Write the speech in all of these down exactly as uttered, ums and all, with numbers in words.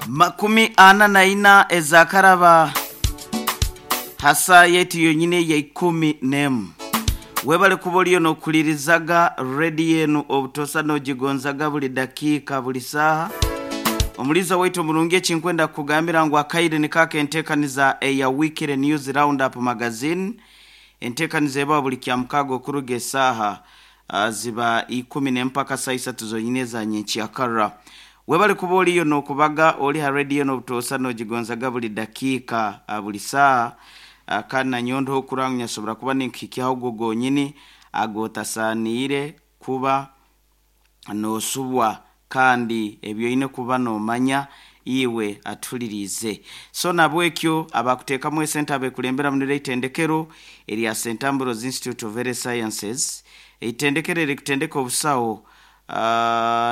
Makumi ana na ina ezakaraba hasa yetu yonyine ya ikumi nemu. Webale kuba oliyo nokulirizaga redi yenu obutosa nogigonzaga buli dakiika buli saaha. Omuliza waitu omurungi, ekinkwenda kugambira ngu akaire nikaka enteekaniza eya Weekly News Roundup Magazine, enteekaniza eba buli kya mukaaga okuruga esaaha uh, ziba ikumi nempaka saa isatu zonyine za nyenkyakara. Webale kuba oliyo nokubaga oli ha rediyo nobutosa nogigonzaga buli dakiika uh, buli saaha. uh, kandi nanyondo okuranga nyasobora kuba ninkuhikyaho ogwo gonyini agotasaniire kuba nosubwa, kandi ebyoine kuba nomanya iwe atulirize. So nabwekyo abakuteekamu esente abekulembera munire itendekero erya Saint Ambrose Institute of Health Sciences, eitendekero erikutendeka obusawo uh,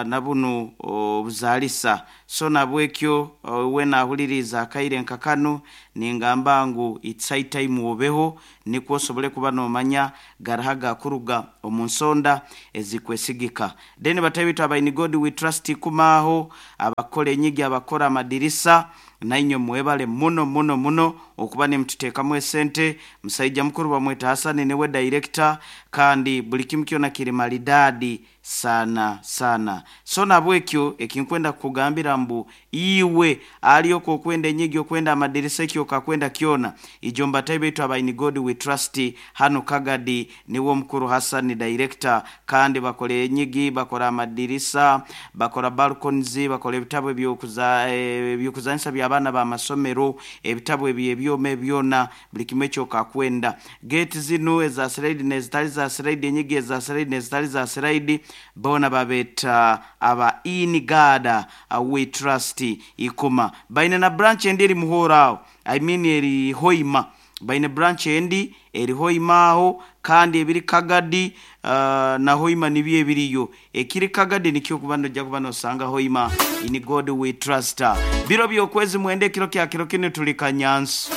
nabunu obuzalisa. So nabwekyo uh, we nahuliriza akaire nka kanu ningamba ngu it's high time obeho nikwo osobole kuba nomanya garaha gakuruga omu nsonda ezikwesigika. Then batabitu aba In God We Trust kumaho abakora enyigi, abakora amadirisa, nainywe mwebale muno muno muno okuba nimututeekamu esente. Musaija mukuru bamweta Hasani niwe director, kandi buli kimu kyona kiri maridadi sana sana. So nabwekyo ekinkwenda kukugambira mbu iwe aliyoko okwenda enyigi, okwenda amadirisa, ekyo okakwenda kyona, ijo mbatai baitu aba In God We Trust hano Kagadi niwe omukuru Hasani director, kandi bakora enyigi, bakora amadirisa, bakora balconies, bakora ebitabo ebyokuza ebyokuzanisa by'abaana b'amasomero, ebitabo ebyo ebyoma ebyona, buli kimwe ekyo okakwenda. Gate zinu eza slide nezitali za slide, enyigi eza slide nezitali za slide, bona babeta aba In God We Trust ikuma. Baine na branch endi eri muhora aho, I mean eri Hoima, baine branch endi eri Hoima aho, kandi ebiri Kagadi uh, na Hoima nibyo ebiriyo. Ekiri Kagadi nikyo kuba nojja kuba nosanga Hoima. In God We Trust. Biro byokwezi mwende kiro kya kiro kino tuli Kanyansi,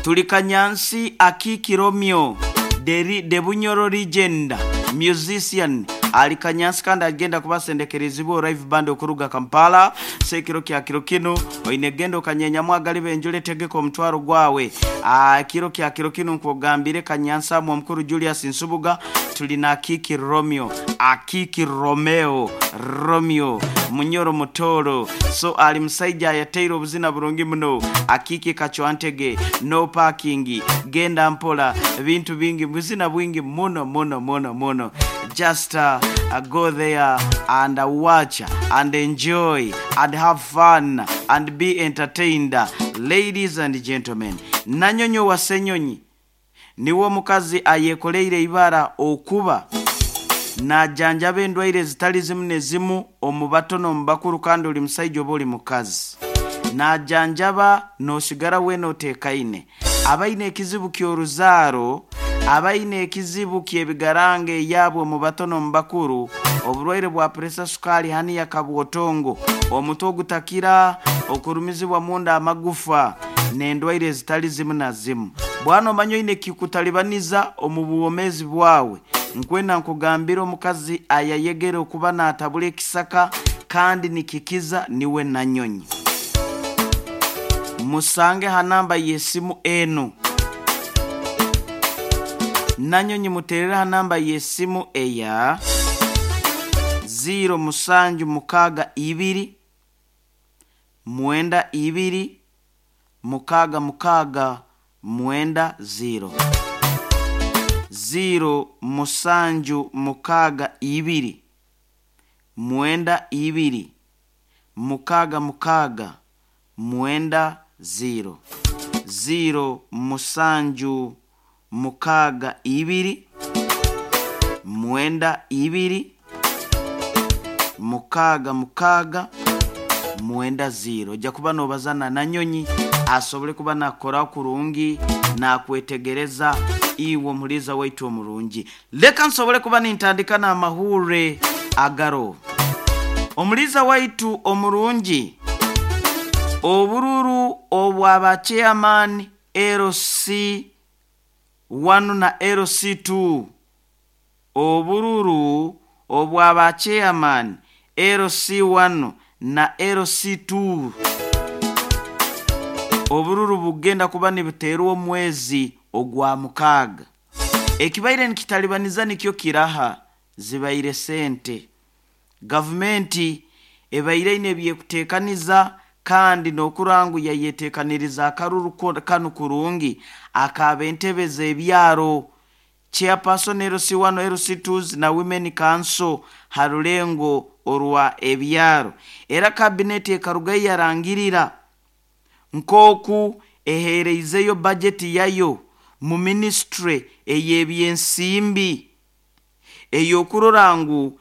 tuli Kanyansi Akiki Romeo de, de Bunyoro legend musician ali Kanyansi, kandi agenda kubasendekerezibwa live band okuruga Kampala. Sekiro kya kiro kino oine genda okanyenyamu agali benjule tegeka omutwaro gwawe. Ah, kiro kya kiro kino nkugambire Kanyansi amwe omukuru Julius Nsubuga tulina Akiki Romeo, Akiki Romeo Romeo Munyoro Mutoro. So ali musaija ayateire obuzina burungi muno. Akiki kachwantege, no parking, genda mpola, bintu bingi, buzina bwingi muno muno muno muno. Just uh, uh, go there and uh, watch and enjoy and have fun and be entertained. Ladies and gentlemen, Nanyonyo wa Senyonyi niwe omukazi ayekoleire ibara okuba najanjaba endwaire zitali zimu nezimu omu bato n'omu bakuru, kandi oli musaija oba oli mukazi najanjaba nosigara wena oteekaine. Abaine ekizibu ky'oruzaaro, abaine ekizibu ky'ebigaranga eyabwe omu bato n'omu bakuru, oburwaire bwa presa, sukaali, haniya, kabwotongo, omutwe ogutakira, okurumizibwa munda amagufa n'endwaire ezitali zimu na zimu. Bwana omanya oine kikutalibaniza omu buwomeezi bwawe, nkwenda nkugambira omukazi ayayegere okuba natabula ekisaka kandi nikikiza niwe Nanyonyi. Musange ha namba y'esimu enu. Nanyonyi muterere ha namba y'esimu eya ziro musanju mukaaga ibiri mwenda ibiri mukaaga mukaaga mwenda ziro, ziro musanju mukaaga ibiri mwenda ibiri mukaaga mukaaga mwenda ziro, ziro musanju mukaaga ibiri mwenda ibiri mukaaga mukaaga mwenda ziro. Ojja kuba nobazana Nanyonyi asobole kuba nakora kurungi nakwetegereza iwe omuliza waitu omurungi. Leka nsobole kuba nintandika n'amahure agaro. Omuliza waitu omurungi, obururu obwaba chairman L C one na L C two, obururu obwaba chairman L C one na L C two. Obururu bugenda kuba nibuteerwa omwezi ogwa mukaaga. Ekibaire nikitalibaniza nikyo kiraha zibaire sente. Gavumenti ebaire ine ebyekuteekaniza kandi n'okurangu yayeteekaniriza akaruru kanu kurungi akaba entebe z'ebyaro, chairperson, L C one, L C two na women council ha rulengo orwa ebyaro. Era kabineti ekaruga yarangirira nk'oku eheereizeyo bajeti yayo mu ministry ey'ebyensimbi ey'okurora ngu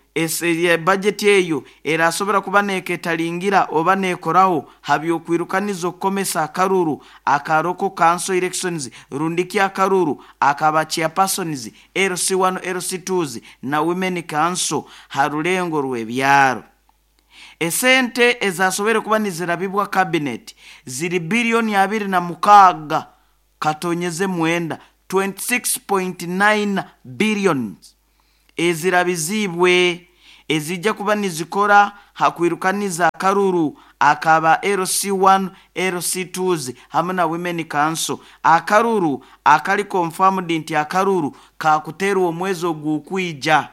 bajeti eyo erasobora kuba neketalingira oba nekoraho habyokwirukaniza okukomesa akaruru aka local council elections rundiki akaruru akaba chairpersons, L C one, L C two na women council ha rulengo rw'ebyaro. Esente ezasobere kuba nizirabibwa cabinet ziri biliyoni abiri na mukaaga katonyeze mwenda, twenty-six point nine billions, ezirabizibwe ezijja kuba nizikora hakwirukaniza akaruru akaba L C one, L C two hamwe na women council, akaruru akali confirmed nti akaruru kakuterwa omwezi ogukwija.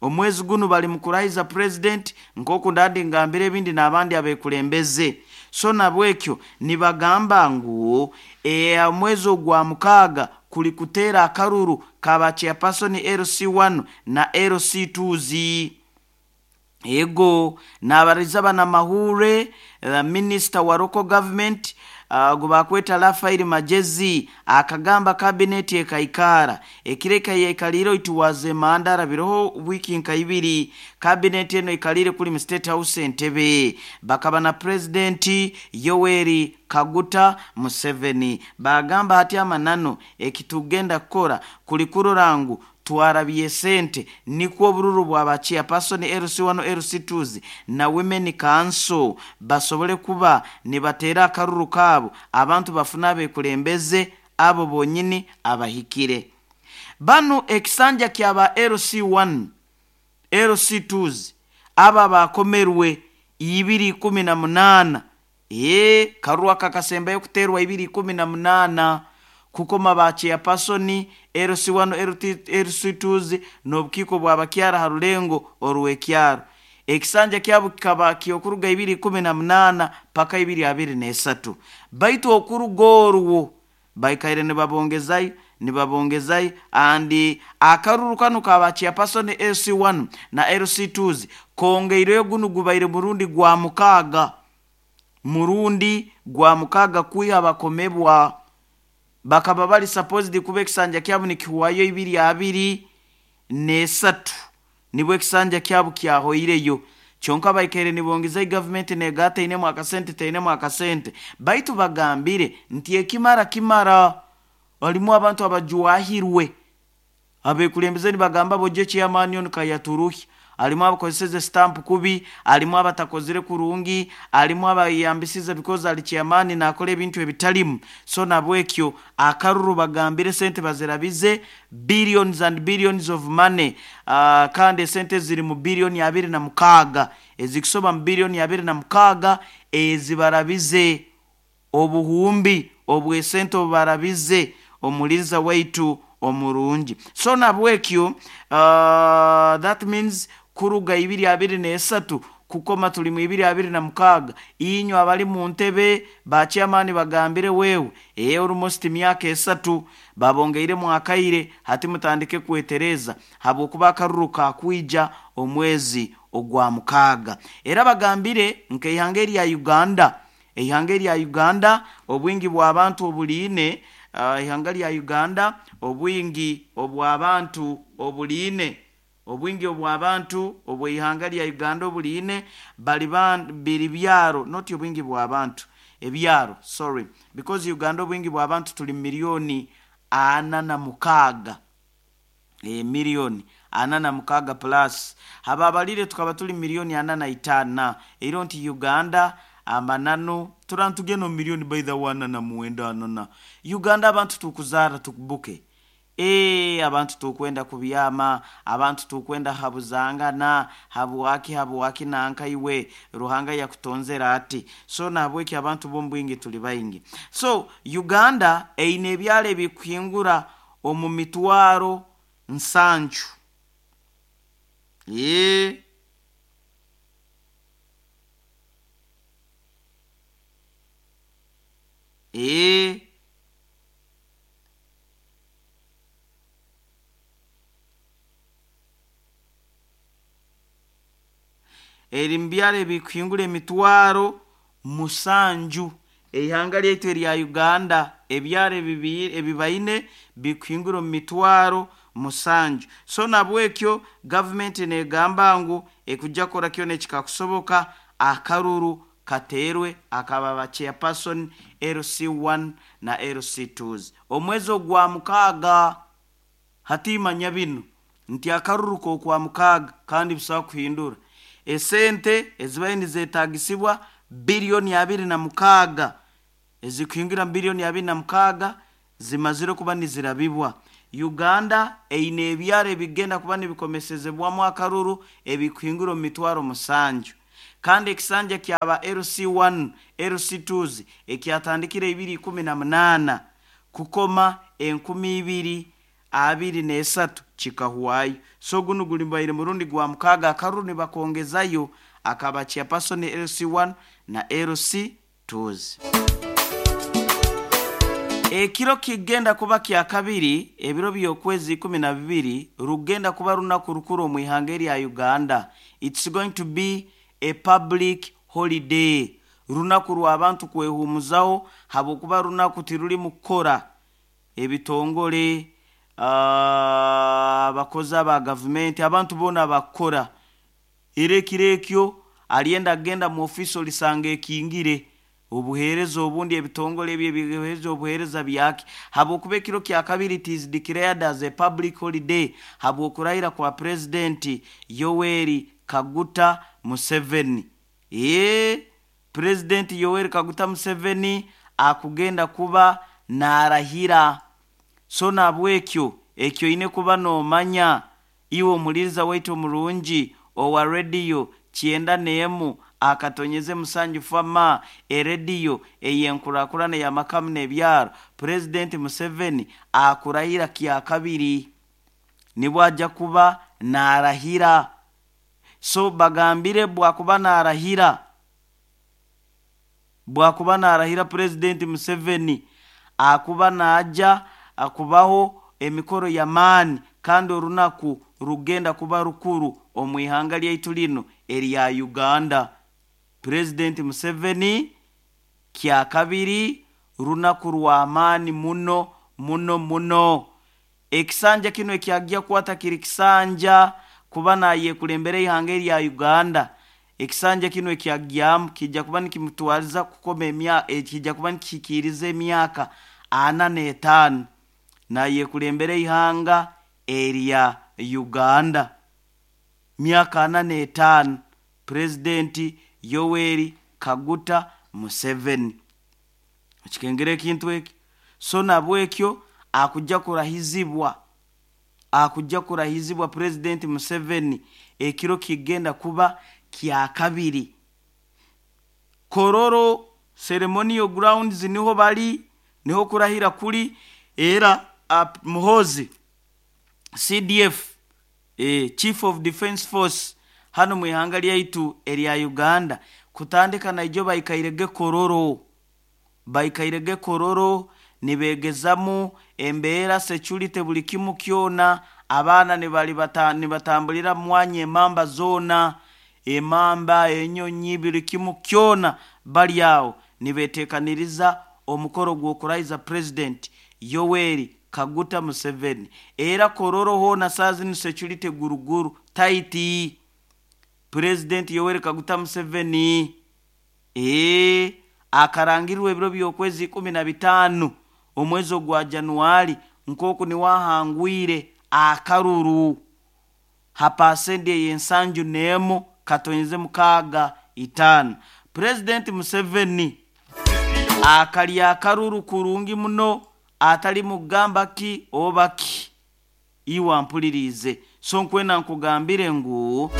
Omwezi guno bali mukurahiza president, nkoku ndandi ngambire ebindi n'abandi abekulembeze. So nabwekyo nibagamba ngu e, omwezi ogwa mukaaga kuli kuteera akaruru kaba chairperson, L C one na L C two. Ego nabariza banamahure, uh, minister wa local government uh, gubakweta Rafael Magezi akagamba kabineti ekaikara ekireka yaikalire. It was mandara biroho wiki nka ibiri kabineti eno ikalire kuli mu State House Entebbe, bakaba na President Yoweri Kaguta Museveni. Bagamba hati amanano ekitugenda kukora kuli kurora ngu twarabye sente nikwo obururu bwaba chairperson, L C one, L C two na women council basobole kuba nibateera akaruru kaabo, abantu bafune abekulembeze abo bonyini abahikire. Banu ekisanja kyaba L C one, L C two aba bakomerwe ibiri ikumi na munaana, ee karuru aka kasembayo kuterwa ibiri ikumi na munaana, kukoma ba chairperson, L C one, L C two n'obukiiko bw'abakyara ha rulengo orw'ekyaro. Ekisanja kyabo kikaba kyokuruga ibiri ikumi na munaana paka ibiri abiri n'esatu, baitu okuruga orwo baikaire nibabongezayo nibabongezayo andi akaruru kanu kaba chairperson, L C one na L C two kongeireyo. Gunu gubaire murundi gwa mukaaga, murundi gwa mukaaga kwiha bakomebwa. Bakaba bali supposed kuba ekisanja kyabo nikihuwayo ibiri abiri nesatu, nibwo ekisanja kyabo kyahoireyo, kyonka baikaire nibongeza. Gavumenti nega teinemu akasente, teinemu akasente, baitu bagambire nti ekimara kimara. Alimu abantu abajwahirwe, abekulembeze nibagamba boje chairman ono kayaturuhi, alimu abakozeseze stamp kubi, alimu abatakozire kurungi, alimu abayambisize because ali chairman nakola ebintu ebitalimu. So nabwekyo akaruru bagambire sente bazirabize, billions and billions of money, uh, kandi esente ziri mu biliyoni abiri na mukaaga, ezikusoba mu biliyoni abiri na mukaaga ezibarabize, obuhumbi obwesente obubarabize, omuliza waitu omurungi. So nabwekyo uh, that means kuruga ibiri abiri nesatu kukoma tuli mu ibiri abiri na mukaaga, inywe abali mu ntebe ba chairman bagambire wewe ee almost myaka esatu babongeiremu akaire. Hati mutandike kwetereza habwokuba akaruru kakwija omwezi ogwa mukaaga. Era bagambire nk'eihanga erya Uganda, eihanga erya Uganda obwingi bw'abantu obuliine, uh, ihanga lya Uganda obwingi obw'abantu obuliine, obwingi obw'abantu obw'eihanga lya Uganda obuliine bali biri byaro, not obwingi bw'abantu, ebyaro, sorry, because Uganda obwingi bw'abantu tuli miliyoni ana na mukaaga, e, miliyoni ana na mukaaga plus hababalire tukaba tuli miliyoni ana na itaana. Ero nti Uganda amananu turantugenda mu miliyoni by the one na muwenda anana. Uganda abantu tukuzaara tukubuke. E, abantu tukwenda kubyama, abantu tukwenda habuzangana, habwaki habwaki nanka iwe Ruhanga yakutonzera ati. So nahabweki abantu bombwingi tuli baingi. So Uganda eine ebyalo ebikuhingura omu mitwaro nsanju. E E eri mbyalo ebikuhingura emitwaro musanju. Eihanga lyaitu erya Uganda ebyalo ebibaine bikuhingura omu mitwaro musanju. So nabwekyo gavumenti negamba ngu ekujja kukora kyona ekikakusoboka akaruru kateerwe akaba ba chairperson L C one na L C two. Omwezi ogwa mukaaga hatimanya bino nti akaruru kokwa mukaaga kandi busaho kuhindura esente ezibaye nizetagisibwa bilioni abiri na mukaaga ezikuhingira bilioni abiri na mukaaga zimazire kuba nizirabibwa. Uganda eine ebyaro ebigenda kuba nibikomesezebwamu akaruru ebikuhingura omu mitwaro musanju. Kandi ekisanja kyaba L C one L C two ekyatandikire ibiri ikumi na munaana kukoma enkumi ibiri abiri n'esatu kikahwayo. So guno guli mbaire murundi gwa mukaaga akaruru nibakongezayo akaba chairperson L C one na L C two. Ekiro kigenda kuba kya kabiri ebiro by'okwezi ikumi na bibiri rugenda kuba runaku rukuru omu ihanga erya Uganda. It's going to be a public holiday. Runaku rw'abantu kwehumuzaho habwokuba runaku tiruri mukora ebitongole, abakozi aba gavumenti, abantu boona bakora. Era ekiro ekyo alienda agenda mu ofisi olisanga ekingire obuheereza obundi ebitongole ebyo ebiheereza obuheereza byake. Habwokuba ekiro kya kabiri it is declared as a public holiday habwokurahira kwa President Yoweri Kaguta Museveni. Ee, President Yoweri Kaguta Museveni akugenda kuba narahira. So nabwekyo ekyo ine kuba nomanya iwe omuliriza waitu omurungi owa radio kyenda n'emu akatonyeze musanju fama erediyo eyenkurakurana ya makamu n'ebyaro. President Museveni akurahira kya kabiri nibwo ajja kuba narahira. So bagambire bwakuba narahira, bwakuba narahira President Museveni akuba naja akubaho emikoro ya maani kandi orunaku rugenda kuba rukuru omu ihanga lyaitu lino erya Uganda. President Museveni kya kabiri runaku rwa maani muno muno muno. Ekisanja kino ekyajja kwata kiri kisanja kuba nayekulembera ihanga erya Uganda. Ekisanja kino ekyajjamu kijja kuba nikimutwaliza kukoma emyaka, kijja kuba nikikiriza emyaka ana n'etaano nayekulembera ihanga erya Uganda. Myaka ana n'etaano President Yoweri Kaguta Museveni. Okikengera ekintu eki. So nabwekyo akujja kurahizibwa, akujja kurahizibwa President Museveni ekiro kigenda kuba kya kabiri. Kororo ceremonial grounds niho bali, niho kurahira kuli. Era uh, Muhoozi C D F, eh, Chief of Defense Force hano mu ihanga lyaitu erya Uganda kutandika naijo baikairege Kororo, baikairege Kororo nibegezamu embeera security buli kimu kyona. Abaana nibali bata, nibatambulira mwanya emamba zona, emamba enyonyi buli kimu kyona bali awo nibetekaniriza omukoro gw'okurahiza President Yoweri Kaguta Museveni. Era Kororo hona sazi ni security guruguru taiti. President Yoweri Kaguta Museveni ee akarangirwe ebiro by'okwezi ikumi na bitaano omwezi ogwa Januari nkoku niwahangwire akaruru hapasende yensanju nemo katonyeze mukaaga itaano. President Museveni akalya akaruru kurungi muno atali mugamba ki oba ki. Iwa mpulirize. So nkwena nkugambire ngu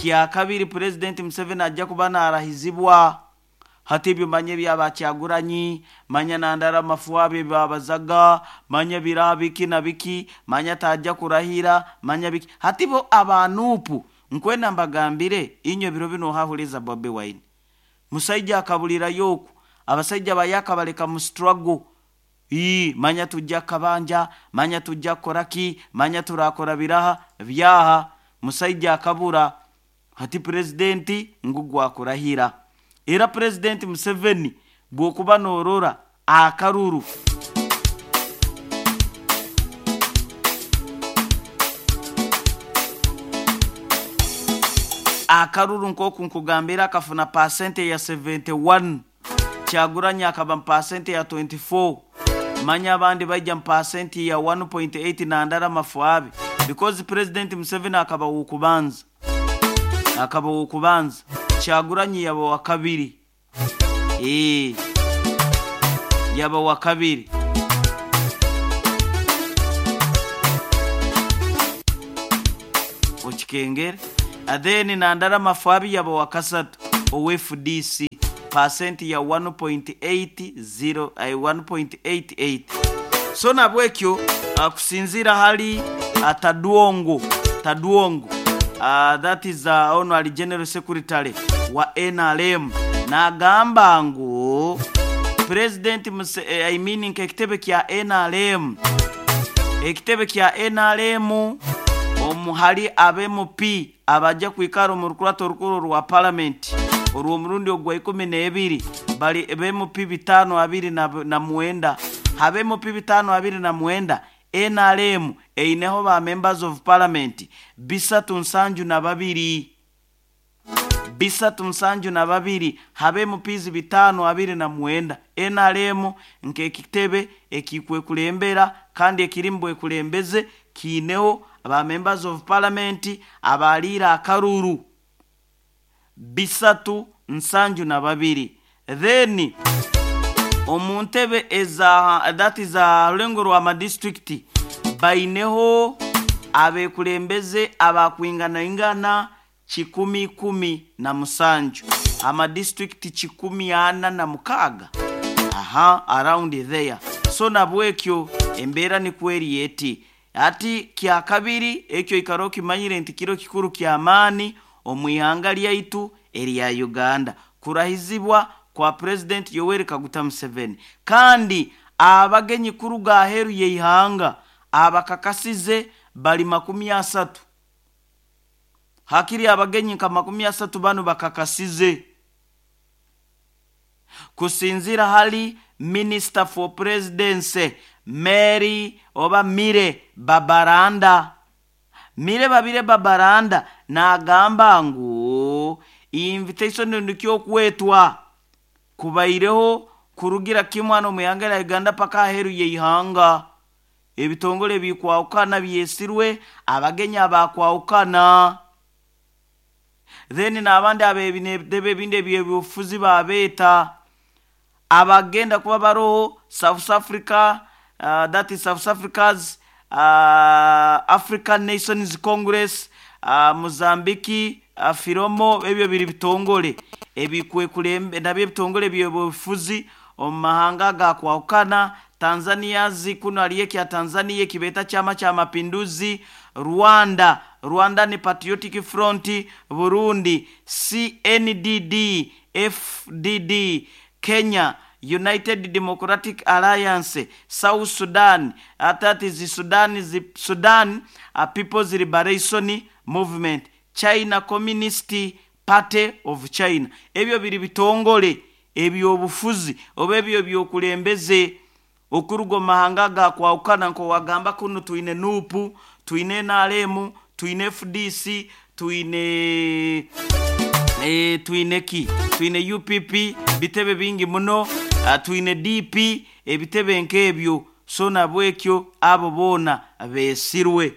kyakabiri President Museveni ajja kuba narahizibwa. Hati ebyo manya byabakyaguranyi, manya nandara mafuabe babazaga, manya biraha biki na biki, manya tajja kurahira, manya biki. Hati bo abanupu nkwena mbagambire inyo biro bino hahuliza Bobi Wine. Musaija akabulira yoku, abasajja bayaka baleka mu struggle. Ii, manya tujja kabanja, manya tujja koraki, manya turakora biraha byaha. Musaija akabura. Hati presidenti ngugwa kurahira. Era President Museveni bwokuba norora akaruru akaruru nkoku nkugambira akafuna percent ya seventy-one, Kyagulanyi akaba percent ya twenty-four, manya abandi bajja percent ya one point eight na ndara mafuabi, because President Museveni akaba wokubanza, akaba wokubanza, Kyagulanyi yaba wa kabiri, eh yaba wa kabiri. Okikengere adeni na ndara mafuabi yaba wa kasatu o F D C percent ya one point eight zero, eh, one point eight eight. So nabwekyo kusinzira hali Tadwongo, Tadwongo uh, that is uh, honorary general secretary wa N R M, nagamba ngu President Muse, eh, I mean ekitebe kya N R M, ekitebe kya N R M omuhali abe M P abajja kwikara mu rukurato rukuru rwa parliament orwo murundi ogwa ikumi n'ebiri bali abe M P bitano abiri na, na mwenda, habe M P bitano abiri na mwenda. N R M eineho ba members of parliament bisatu nsanju na babiri, bisatu nsanju na babiri, habe M Ps bitano abiri na mwenda. N R M nke ekitebe ekikwe kulembera kandi ekirimbwe kulembeze kineho aba members of parliament abalira akaruru bisatu nsanju na babiri. Then omuntebe eza that is a lengo rwa ma district baineho abekulembeze abakwingana ingana kikumi kumi na musanju, ama district kikumi ana na mukaga, aha, around there. So nabwekyo embera ni kweri yeti ati kya kabiri ekyo ikaro kimanyire nti kiro kikuru kya amani omwihanga lyaitu erya Uganda kurahizibwa kwa President Yoweri Kaguta Museveni. Kandi abagenyi kuruga aheru yeihanga abakakasize bali makumi asatu, hakiri abagenyi nka makumi asatu bano bakakasize kusinzira hali Minister for Presidency Mary oba Mire Babaranda, Mire Babire Babaranda nagamba ngu invitation ndikyo kwetwa kubaireho kurugira kimwano muyangera Uganda paka aheru yeihanga ebitongole bikwawukana byesirwe abagenyi abakwawukana, then n'abandi abebinebebe ebindi ebyobufuzi babeta abagenda kuba baroho South Africa, uh, that is South Africa's uh, African Nations Congress, uh, Mozambique, uh, Firomo, ebyo biri bitongole ebikwe kulembe nabyo bitongole byobufuzi omahanga gakwawukana. Tanzania zikuno aliyeki ya Tanzania kibeta chama cha mapinduzi, Rwanda, Rwanda ni Patriotic Front, Burundi C N D D F D D, Kenya United Democratic Alliance, South Sudan, that is Sudan, Sudan uh, People's Liberation Movement, China Communist Party of China. Ebyo biri bitongole ebyobufuzi oba ebyo byokulembeze okurugo mahanga gakwawukana nko wagamba kuno tuine N U P, tuine N R M, tuine F D C, tuine eh, tuine ki, tuine U P P, bitebe bingi muno, uh, tuine D P, ebitebe nkebyo. So nabwekyo abo bona besirwe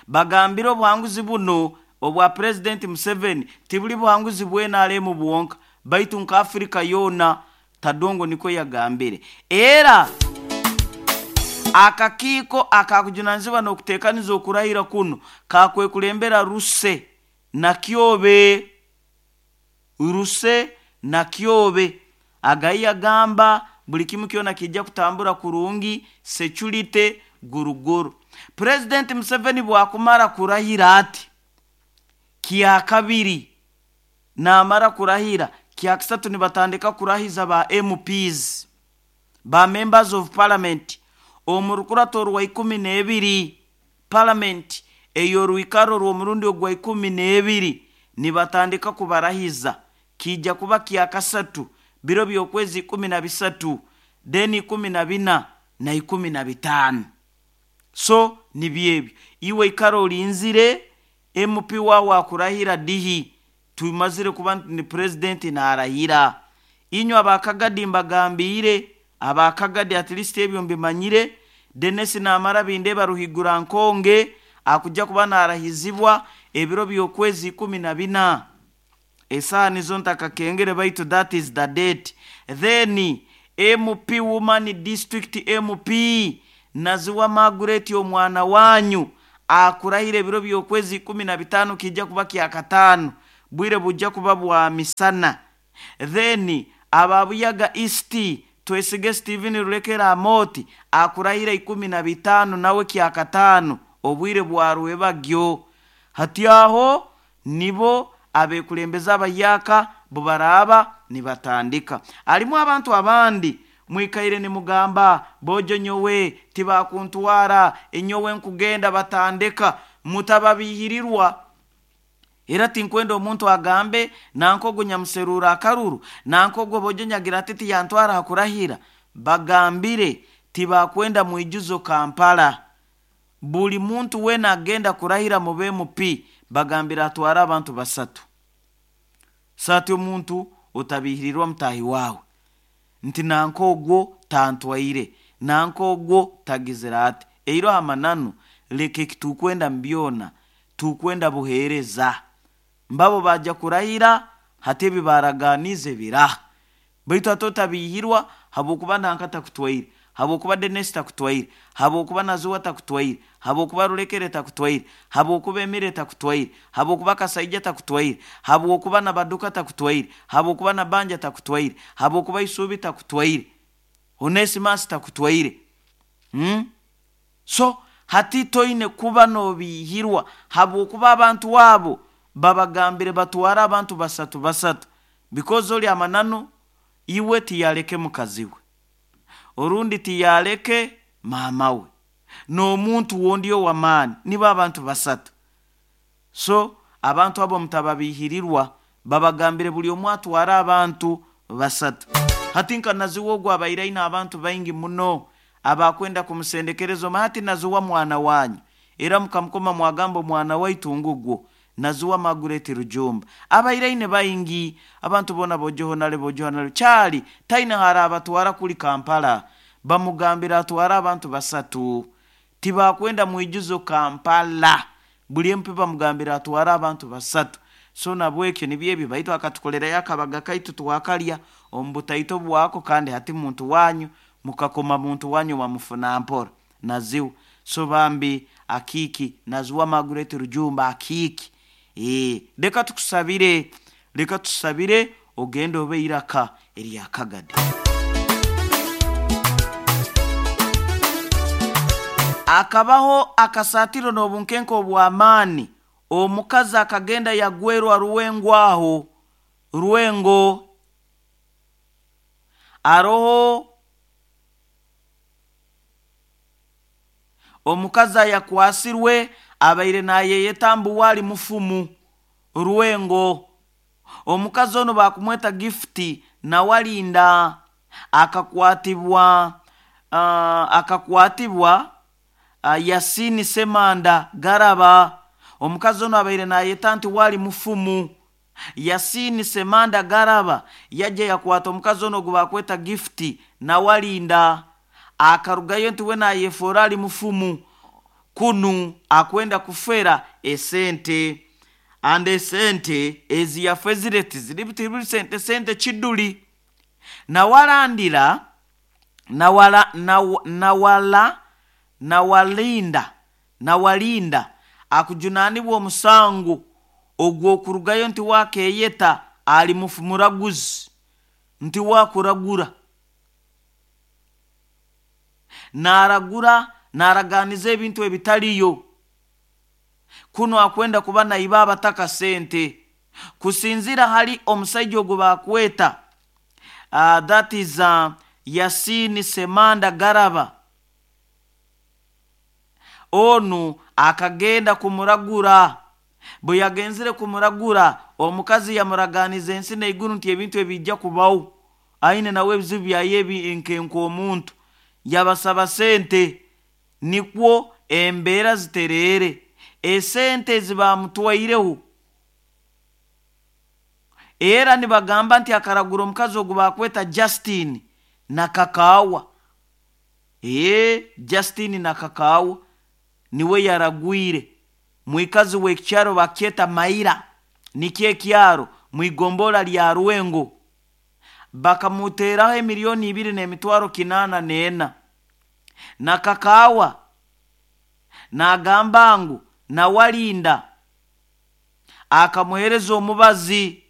bagambira obuhanguzi buno obwa President Museveni tibuli buhanguzi bwe N R M buwonka baitu nka Afrika yona. Tadongo niko yagambire. Era Akakiiko akakujunanizibwa n'okuteekaniza okurahira kuno kakwekulembera Ruse Nakyobe. Ruse Nakyobe agayi agamba buli kimu kyona kijja kutambura kurungi, security guruguru. President Museveni bwakumara kurahira ati kyakabiri, namara kurahira kyakisatu nibatandika kurahiza ba M Ps, ba members of parliament omurukurato rwa ikumi n'ebiri parliament eyorwikaro rw'omurundi ogwa ikumi n'ebiri nibatandika kubarahiza. Kijja kuba kyakasatu biro by'okwezi ikumi na bisatu then ikumi na bina na ikumi na bitaano. So nibyebyo iwe ikaro olinzire M P wawe akurahira dihi tumazire kuba ni president narahira. Inywe abakagadi mbagambire, abakagadi at least ebyo mbimanyire. Dennis namara bindeba ruhigura nkonge akujja kuba narahizibwa ebiro by'okwezi ikumi na bina. Esaha nizo ntakakengere baitu that is the date. Then M P Woman District M P Naziwa Margaret omwana wanyu akurahira ebiro by'okwezi ikumi na bitaano kijja kuba kyakataano, bwire bujja kuba bwa misana. Then ababuyaga East Twesige Steven Rulekera Amoti akurahira ikumi na bitaano nawe kyakataano, obwire bwa rwebagyo. Hati aho nibo abekulembeza abayaka bubaraba nibatandika. Alimu abantu abandi mwikaire ni mugamba bojo nyowe tibakuntwara enyowe nkugenda batandika mutababihirirwa. Era tinkwenda omuntu agambe nankogo nyamuserura akaruru nankogo bojo nyagira ati tiyantwara hakurahira. Bagambire tibakwenda mwijuzo Kampala. Buli muntu wena agenda kurahira mu M P bagambira atwara abantu basatu. Sati omuntu otabihirirwa mutahi wawe nti nankogwo tantwaire nankogwo tagizira ati. Eiro amananu leke kitukwenda mbyona tukwenda buhereza. Mbabo baja kurahira hati ebibaraganize biraha. Baitu atotabihirwa habwokuba nankata kutwaire, habwokuba Dennis takutwaire, habwokuba Nazuwa takutwaire, habwokuba Rulekere takutwaire, habwokuba Emire takutwaire, habwokuba Kasaija takutwaire, habwokuba Nabaduka takutwaire, habwokuba Nabanja takutwaire, habwokuba Isubi takutwaire, Onesimus takutwaire. Hmm? So hati toine kuba nobihirwa habwokuba abantu wabo babagambire batwara abantu basatu basatu. Because oli amananu iwe tiyaleke mukaziwe, orundi tiyaleke mamawe, n'omuntu wondi ow'amaani, nibo abantu basatu. So abantu abo mutababihirirwa, babagambire buli omwe atwara abantu basatu. Hati nka Naziwa ogwo abaire aine abantu baingi muno abakwenda kumusendekereza, hati Naziwa mwana wanyu, era mukamukoma mwagamba omwana waitu ngugwo Naziwa Margaret Rujumba. Abaire aine baingi abantu bona bojoho nale bojoho nale kyali taine hara abatwara kuli Kampala, bamugambira atwara abantu basatu. Tibakwenda mwijuzo Kampala, buli M P bamugambira atwara abantu basatu. So nabwekyo nibyo baitu akatukolera yakabaga kaitu twakalya omubutaito bwako, kandi hati muntu wanyu mukakoma muntu wanyu wamufuna mpora Naziwa. So bambi akiki Naziwa Margaret Rujumba akiki. E, leka tukusabire, leka tusabire ogende obe iraka eryakagade. Akabaho akasatiro n'obunkenke obw'amaani. Omukazi akagenda yagwerwa Ruwengo aho Ruwengo aroho omukazi ayakwasirwe abaire nayeyeta mbu wali mufumu Ruwengo. Omukazi ono bakumweta Gift Nawalinda akakwatibwa, uh, akakwatibwa uh, Yasini Semanda Garaba. Omukazi ono abaire nayeta nti wali mufumu Yasini Semanda Garaba yajja yakwata omukazi ono gwe bakweta Gift Nawalinda akarugayo nti we nayefora ali mufumu kunu akwenda kufera esente ande esente eziyafezire tiziri sente sente kiduli. Nawalandira nawala nawala Nawalinda Nawalinda akujunanibwa omusango ogw'okurugayo nti wakeyeta ali mufu muraguzi nti wakuragura naragura naraganiza ebintu ebitaliyo kuno akwenda kuba naiba abataka sente kusinzira hali omusajja ogwo bakweta uh, that is uh, Yasini Semanda Garaba onu akagenda kumuragura bwe yagenzire kumuragura omukazi yamuraganiza ensi n'eiguru nti ebintu ebijja kubaho aine nawe ebizibu byaye nkenka omuntu yabasaba sente nikwo embeera zitereere esente zibamutwaireho era nibagamba nti akaragura omukazi ogu bakweta Justin Nakakaawa ee Justin Nakakaawa niwe yaragwire mwikazi w'ekyaro bakyeta Maira nikyo ekyaro mwigombola lya Rwengo bakamuteraho emiliyoni ibiri n'emitwaro kinaana n'ena. Nakakaawa nagamba ngu Nawalinda akamuhereza omubazi